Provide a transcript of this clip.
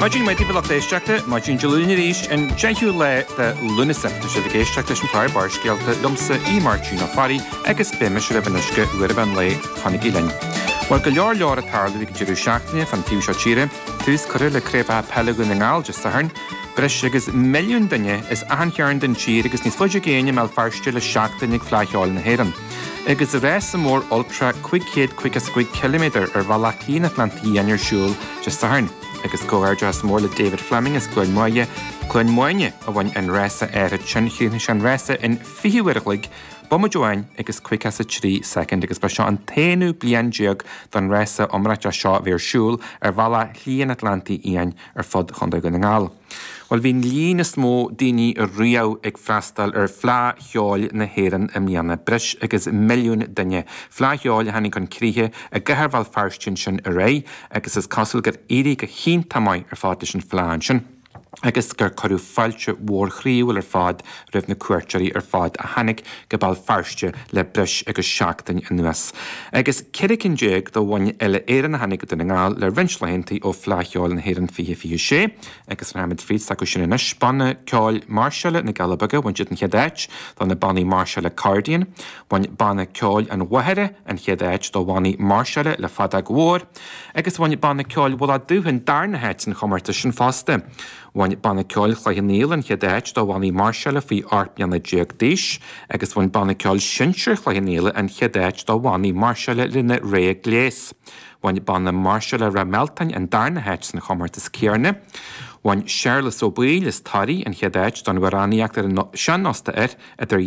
Maidin mhaith daoibh a lucht éisteachta, maidin Dé Luain arís, an 10ú lá de Lúnasa. Tá sibh ag éisteacht leis an chlár Barrscéalta liomsa, Aodh Máirtín Ó Fearraigh, agus beidh mise libh anois go uair an mheán lae. Fanaigí linn. Bhuel, go leor leor ag tarlú ag an deireadh seachtaine fán taobh seo tíre. Tús curtha le Craobhacha Peile Dhún na nGall Dé Sathairn. Breis agus milliún duine as achan chearn den tír agus níos faide i gcéin i mBéal Feirste le seachtain ag Fleadh Cheoil na hÉireann. Agus rása mór Ultra 555 ciliméadar ar bhealach Shlí an Atlantaigh Fhiáin ar siúl Dé Sathairn. Agus comhghairdeachas mór le David Fleming as Cluain Mhaighe, Cluain Mhaine, a bhain an rása áirithe sin. Chríochnaigh sé an rása in 20 uair a chloig, bomaite amháin agus 53 soicind agus ba seo an t-aonú bliain déag don rása iomráiteach seo a bheith ar siúl ar bhealach Shlí an Atlantaigh Fhiáin ar fud Chontae Dhún na nGall. Bhuel, bhí an líon is mó daoine riamh ag freastal ar Fleadh Cheoil na hÉireann i mbliana, breis agus milliún duine. Fleadh Cheoil a tháinig chun críche i gcathair Bhéal Feirste ansin aréir agus is cosúil gur éirigh go hiontach maith ar fad leis an Fleadh ansin agus gur cuireadh fáilte mhór chroíúil ar fad roimh na cuairteoirí ar fad a tháinig go Béal Feirste le breis agus seachtain anuas. Agus 14 cinn de bhoinn uile-Éireann a tháinig go Dún na nGall le roinnt laethanta ó Fleadh Cheoil na hÉireann 2026 agus rachaimid fríd s'acu sin anois. Banna Ceoil Máirseála na gCealla Beaga, bhain siad an chéad áit do na bannaí máirseála Accordion. Bhain Banna Ceoil an Mhachaire an chéad áit do bhannaí máirseála le feadóg mhór agus bhain Banna Ceoil Mhullach Dubh an darna háit san chomórtas sin fosta. Bhain Banna Ceoil Chloich Cheann Fhaola an chéad áit do bhannaí máirseála faoi 18 mbliana d'aois agus bhain Banna Ceoil Sinsir Chloich Cheann Fhaola an chéad áit do bhannaí máirseála lena rogha gléas. Bhain Banna Máirseála Ráth Mealtain an darna háit san chomórtas céanna. Bhain Séarlas Ó Baoill as Toraigh an chéad áit don amhránaíocht ar an sean-nós idir 2000.